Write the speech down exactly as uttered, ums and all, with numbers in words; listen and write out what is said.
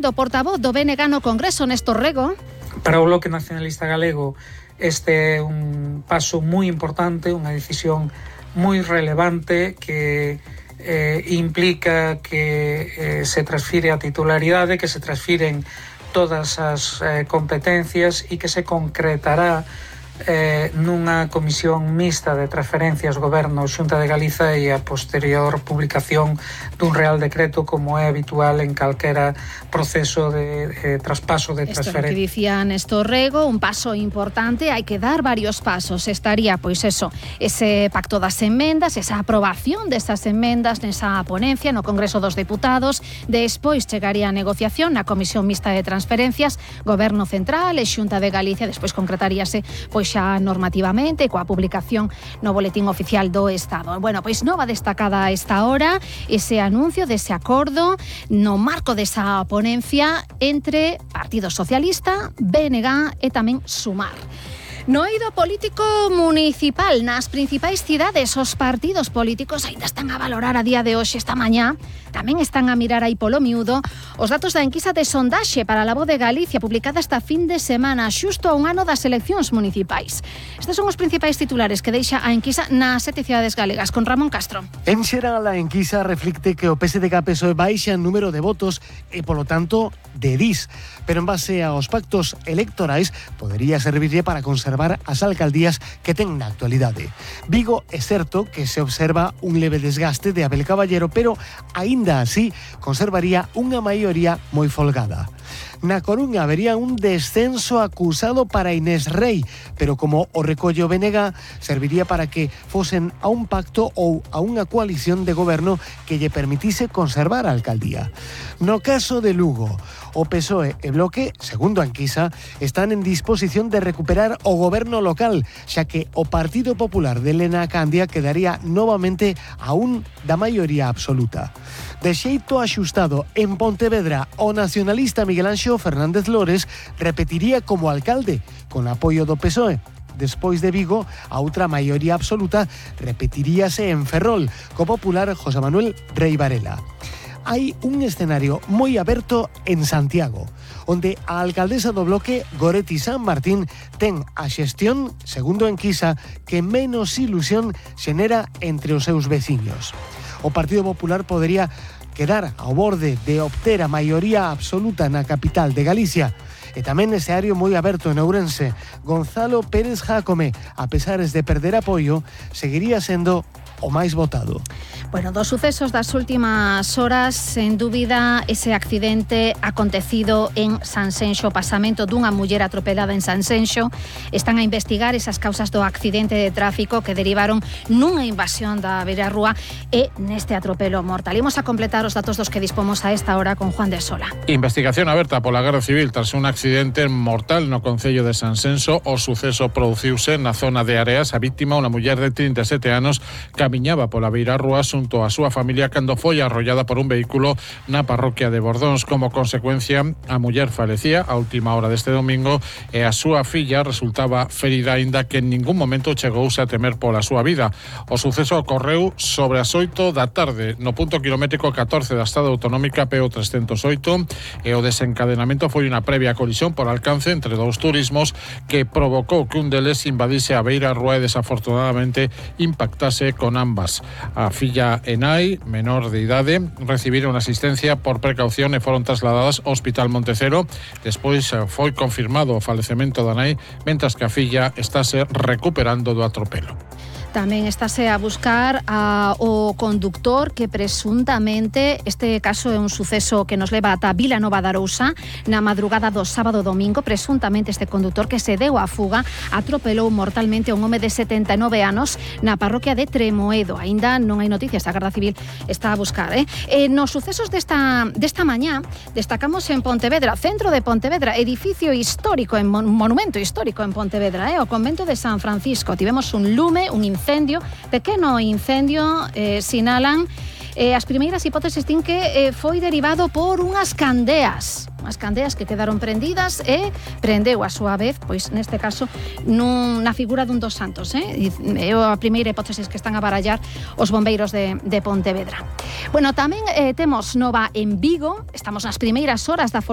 Do portavoz do B N G no Congreso, Néstor Rego. Para o Bloque Nacionalista Galego este é un paso moi importante, unha decisión moi relevante que eh, implica que eh, se transfire a titularidade, que se transfiren todas as eh, competencias e que se concretará eh, nunha comisión mixta de transferencias Goberno Xunta de Galiza e a posterior publicación dun Real Decreto como é habitual en calquera proceso de eh, traspaso de transferencia. Isto que dicía Néstor Rego, un paso importante, hai que dar varios pasos. Estaría, pois eso, ese pacto das emendas, esa aprobación desas emendas nesa ponencia no Congreso dos Deputados, despois chegaría a negociación na Comisión Mixta de Transferencias, Goberno Central e Xunta de Galicia, despois concretaríase pois xa normativamente coa publicación no Boletín Oficial do Estado. Bueno, pois nova destacada a esta hora ese anuncio dese acordo no marco desa ponencia entre Partido Socialista, B N G e tamén Sumar. No eido político municipal nas principais cidades, os partidos políticos aínda están a valorar a día de hoxe, esta mañá, tamén están a mirar aí polo miúdo os datos da enquisa de sondaxe para a Voz de Galicia publicada esta fin de semana, xusto a un ano das eleccións municipais. Estes son os principais titulares que deixa a enquisa nas sete cidades galegas, con Ramón Castro. En xeral, a enquisa reflicte que o P S D G P S O E baixa en número de votos e, polo tanto, de dis, pero en base aos pactos electorais podería servirlle para conservar as alcaldías que ten na actualidade. Vigo é certo que se observa un leve desgaste de Abel Caballero, pero aínda así conservaría unha maioría moi folgada. Na Coruña habería un descenso acusado para Inés Rei, pero como o recolle o B N G, serviría para que fosen a un pacto ou a unha coalición de goberno que lle permitise conservar a alcaldía. No caso de Lugo, o P S O E e Bloque, segundo a enquisa, están en disposición de recuperar o goberno local, xa que o Partido Popular de Elena Candia quedaría novamente a un da maioría absoluta. De xeito axustado, en Pontevedra, o nacionalista Miguel Anxo Fernández Lores repetiría como alcalde, con apoio do P S O E. Despois de Vigo, a outra maioría absoluta repetiríase en Ferrol, co popular José Manuel Rei Varela. Hai un escenario moi aberto en Santiago, onde a alcaldesa do Bloque, Goretti San Martín, ten a xestión, segundo a enquisa, que menos ilusión xenera entre os seus veciños. O Partido Popular podería quedar ao borde de obter a maioría absoluta na capital de Galicia. E tamén nese área moi aberto en Ourense, Gonzalo Pérez Jácome, a pesares de perder apoio, seguiría sendo o máis votado. Bueno, dos sucesos das últimas horas, sen dúbida, ese accidente acontecido en Sanxenxo, o pasamento dunha muller atropelada en Sanxenxo. Están a investigar esas causas do accidente de tráfico que derivaron nunha invasión da beirarrúa e neste atropelo mortal. Imos a completar os datos dos que dispomos a esta hora con Juan de Sola. Investigación aberta pola Garda Civil tras un accidente mortal no concello de Sanxenxo. O suceso produciuse na zona de Areas. A víctima, unha muller de trinta e sete anos, camiñaba pola beirarrúa xunto a súa familia cando foi arrollada por un vehículo na parroquia de Bordóns. Como consecuencia, a muller falecía a última hora deste domingo e a súa filla resultaba ferida, aínda que en ningún momento chegouse a temer pola súa vida. O suceso ocorreu sobre as oito da tarde no punto kilométrico catorce da estrada autonómica P O trescentos oito e o desencadenamento foi unha previa colisión por alcance entre dous turismos que provocou que un deles invadise a beirarrúa e desafortunadamente impactase con ambas. A filla Enai, menor de idade, recibiron asistencia por precaución e foron trasladadas ao Hospital Montecero. Despois foi confirmado o falecemento da nai, mentras que a filla estáse recuperando do atropelo. Tamén estáse a buscar a, o conductor que presuntamente, este caso é un suceso que nos leva ata Vilanova de Arousa, na madrugada do sábado domingo. Presuntamente este conductor que se deu a fuga atropelou mortalmente a un home de setenta e nove anos na parroquia de Tremoedo. Aínda non hai noticias, a Garda Civil está a buscar. Eh? Eh, nos sucesos desta, desta mañá destacamos en Pontevedra, centro de Pontevedra, edificio histórico, en mon, monumento histórico en Pontevedra, eh? O convento de San Francisco. Tivemos un lume, un incendio, pequeno incendio, eh, sinalan E as primeiras hipóteses din que eh, foi derivado por unhas candeas, unhas candeas que quedaron prendidas e prendeu a súa vez, pois neste caso, nun, na figura dun dos santos. Eh? É a primeira hipótese que están a barallar os bombeiros de, de Pontevedra. Bueno, tamén eh, temos nova en Vigo, estamos nas primeiras horas da folga